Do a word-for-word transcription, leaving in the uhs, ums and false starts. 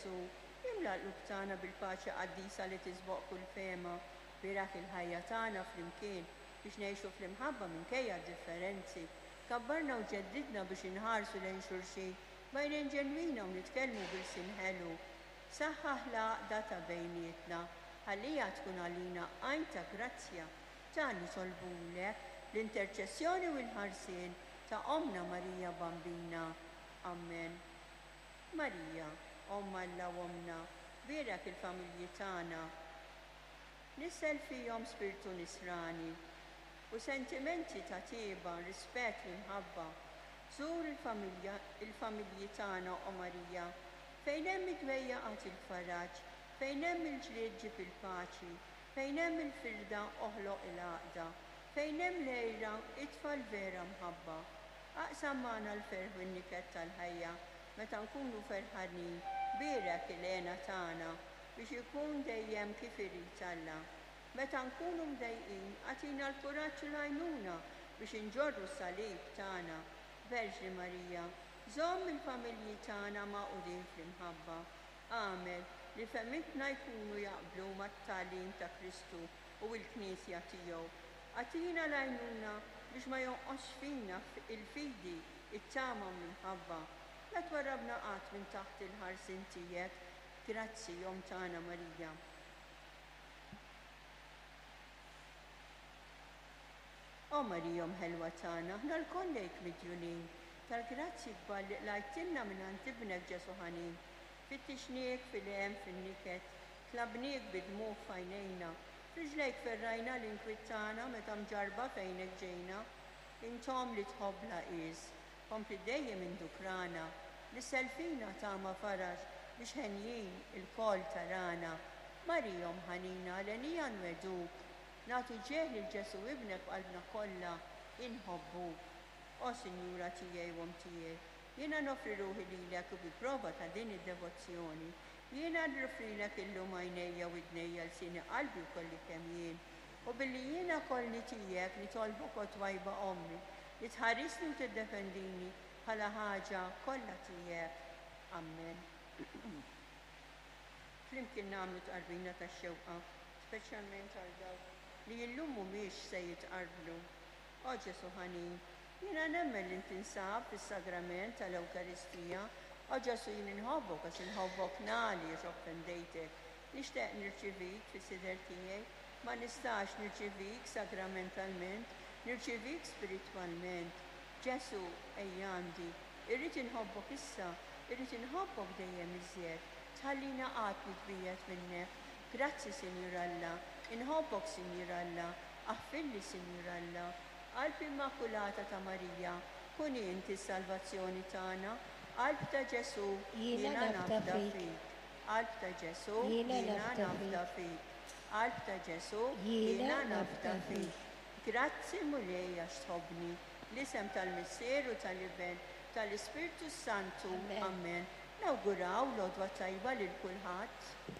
Ġesù, imla l-qlub tagħna bil-paċi qaddisa li tisboq kull fehma, bierak il-ħajja tagħna flimkien biex ngħixu fl-imħabba minkejja d-differenzi. Kabbarna u ġeddidna biex inħarsu lejn xulxin b'għajnejn ġenwina u nitkellmu b'ilsien ħelu. Saħħaħ l-għaqda ta' bejnietna, ħalliha tkun għalina għajn ta' grazzja. Dan nitolbulek l-interċessjoni u l-ħarsien ta' Ommna Marija Bambina. Amen. Marija, Omm Alla u Ommna, bierek il-familji tagħna. Nissel fihom spirtu nisrani u sentimenti ta' tieba, rispett u imħabba. Żur il-familja, il-familji tagħna, o Marija, fejn hemm id-dwejjaq agħti l-faraġ, fejn hemm il-ġlied ġib il-paċi, fejn hemm il-firda oħloq il-għaqda, fejn hemm l-għira itfa' l-vera mħabba. Aqsam magħna l-ferħ u n-niket tal-ħajja meta nkunu ferħanin, bierek il-hena tagħna biex ikun dejjem kif irid Alla. Meta nkunu mdejqin, agħtina l-kuraġġ u l-għajnuna biex inġorru s-salib tagħna. Verġni Marija, żomm il-familji tagħna magħqudin fl-imħabba. Agħmel li fehmietna jkunu jaqblu mat-tagħlim ta' Kristu u l-Knisja tiegħu. Agħtina l-għajnuna biex ma jonqosx fina il-fidi, it-tama u l-imħabba. La twarrabna qatt minn taħt il-ħarsien tiegħek. Grazzi, Omm tagħna Marija. O Marija, Omm ħelwa tagħna, aħna lkoll lejk midjunin tal-grazzi kbar li qlajtilna mingħand Ibnek Ġesù ħanin. Fittixniek fil-hemm fin-niket, tlabniek bid-dmugħ f'għajnejna, f'riġlejk ferrajna l-inkwiet tagħna meta mġarrba fejnek ġejna. Int Omm li tħobb bla qies, kompli dejjem indukrana, nissel fina tama faraġ biex henjin ilkoll tarana. Marija, Omm ħanina, l-henija nwegħduk, nagħtu ġieħ lil Ġesù Ibnek b'qalbna kollha, inħobbuk. O Sinjura tiegħi u Omm tiegħi, jiena noffri ruħi lilek u bi prova ta' din id-devozzjoni, jiena nroffrilek illum għajnejja u widnejja, lsieni, qalbi u kolli kemm jien. U billi jiena kollni tiegħek nitolbok, o twajba ommi, li tħarisni u tiddefendini bħala ħaġa kollha tiegħek. Amen. Flimkien nagħmlu tqarbina tax-xewqa, speċjalment għal dawk li illum mhumiex se jitqarbnu. O Ġesù ħanin, jiena nemmen li tinsab fis-sagrament tal-Ewkaristija. O Ġesù, jien inħobbok għax inħobbok nali għax offendejtek. Nixtieq nirċivik fis-sider tiegħi, ma nistax nirċivik sagramentalment, nirċivik spiritwalment. Ġesù, ejja għandi, irrid inħobbok issa, irrid inħobbok dejjem iżjed. Tħallina qatt nitbiegħed minnek. Grazzi, Sinjur Alla, inħobbok, Sinjur Alla, aħfirli, Sinjur Alla. Qalb Immakulata ta' Marija, kun inti s-salvazzjoni tagħna. Qalb ta' Ġesù, Jiena jiena nafda nafda fik. fik. Qalb ta' Ġesù, Jiena jiena nafda nafda fik. fik. Qalb ta' Ġesù, Jiena jiena nafda nafda fik. fik. Grazzi Mulej għax tħobbni. L-isem tal-Missier u tal-Iben, tal-Ispirtu Santu. Amen. Amen. Nawguraw l-għodwa tajba lil kulħadd.